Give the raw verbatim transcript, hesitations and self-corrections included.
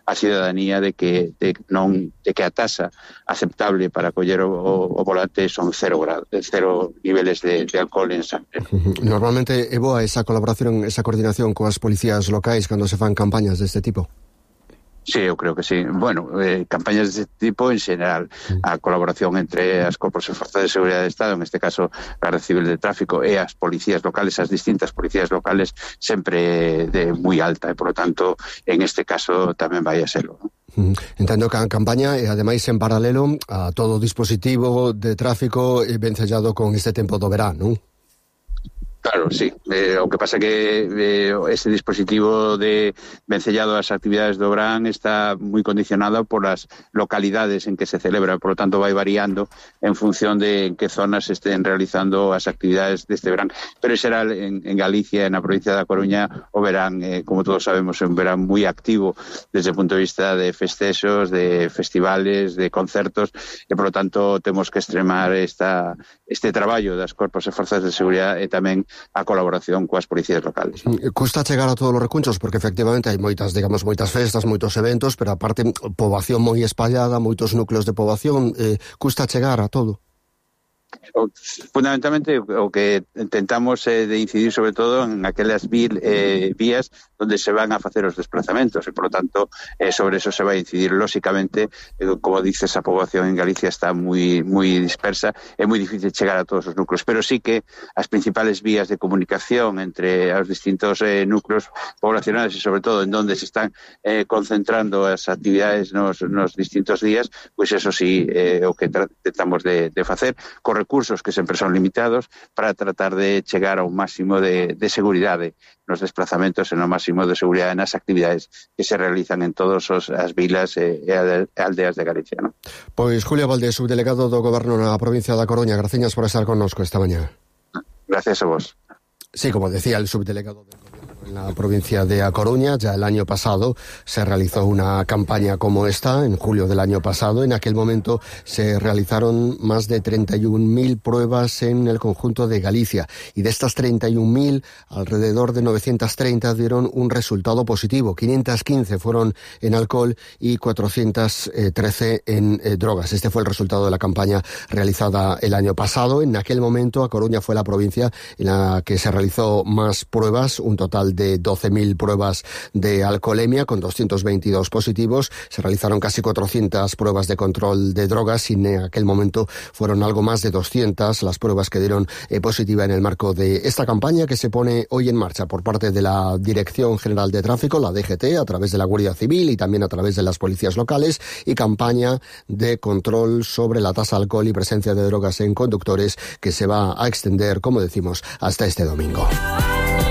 a cidadanía de que de non de que a tasa aceptable para coller o, o volante son cero grados, cero niveles de, de alcohol en sangre. Normalmente é boa esa colaboración, esa coordinación coas policías locais cando se fan campañas deste tipo? Sí, eu creo que sí. Bueno, eh, campañas deste tipo en xeral, a colaboración entre as corpos e forzas de seguridade do Estado, en este caso a Garda Civil de Tráfico e as policías locales, as distintas policías locales, sempre de moi alta e, por lo tanto, en este caso tamén vai a serlo, ¿no? Entendo que a campaña e ademais en paralelo a todo o dispositivo de tráfico vencellado con este tempo do verán, non? Claro, sí. Eh, o que pasa que eh, ese dispositivo de vencellado ás actividades do verán está moi condicionado por as localidades en que se celebra, por lo tanto vai variando en función de en que zonas se estén realizando as actividades deste verán. Pero en xeral en, en Galicia, na provincia da Coruña, o verán, eh, como todos sabemos, é un verán moi activo desde o punto de vista de festexos, de festivales, de concertos, e por lo tanto temos que extremar esta, este traballo das corpos e forzas de seguridade e tamén a colaboración coas policías locales. Custa chegar a todos os recunchos porque efectivamente hai moitas, digamos, moitas festas, moitos eventos, pero aparte poboación moi espallada, moitos núcleos de poboación, eh, custa chegar a todo. Fundamentalmente o que intentamos é eh, de incidir sobre todo en aquelas vil, eh, vías onde se van a facer os desplazamentos e, por lo tanto, eh, sobre eso se vai a incidir. Lóxicamente, eh, como dices, a poboación en Galicia está moi moi dispersa, é moi difícil chegar a todos os núcleos, pero sí que as principales vías de comunicación entre os distintos eh, núcleos poblacionales e, sobre todo, en donde se están eh, concentrando as actividades nos, nos distintos días, pois pues eso sí, eh, o que tratamos de, de facer, con recursos que sempre son limitados, para tratar de chegar ao máximo de, de seguridade nos desplazamentos e no máximo de seguridade nas actividades que se realizan en todas as vilas e, e aldeas de Galicia, ¿no? Pois Julio Valdés, subdelegado do Goberno na provincia da Coruña, graciñas por estar connosco esta mañá. Gracias a vos. Sí, como decía el subdelegado del Gobierno en la provincia de A Coruña, ya el año pasado se realizó una campaña como esta, en julio del año pasado. En aquel momento se realizaron más de treinta y un mil pruebas en el conjunto de Galicia, y de estas treinta y un mil, alrededor de novecientos treinta dieron un resultado positivo. quinientos quince fueron en alcohol y cuatrocientos trece en eh, drogas. Este fue el resultado de la campaña realizada el año pasado. En aquel momento A Coruña fue la provincia en la que se realizó más pruebas, un total de doce mil pruebas de alcoholemia con doscientos veintidós positivos. Se realizaron casi cuatrocientas pruebas de control de drogas y en aquel momento fueron algo más de doscientas las pruebas que dieron eh, positiva en el marco de esta campaña que se pone hoy en marcha por parte de la Dirección General de Tráfico, la D G T, a través de la Guardia Civil y también a través de las policías locales, y campaña de control sobre la tasa de alcohol y presencia de drogas en conductores que se va a extender, como decimos, hasta este domingo.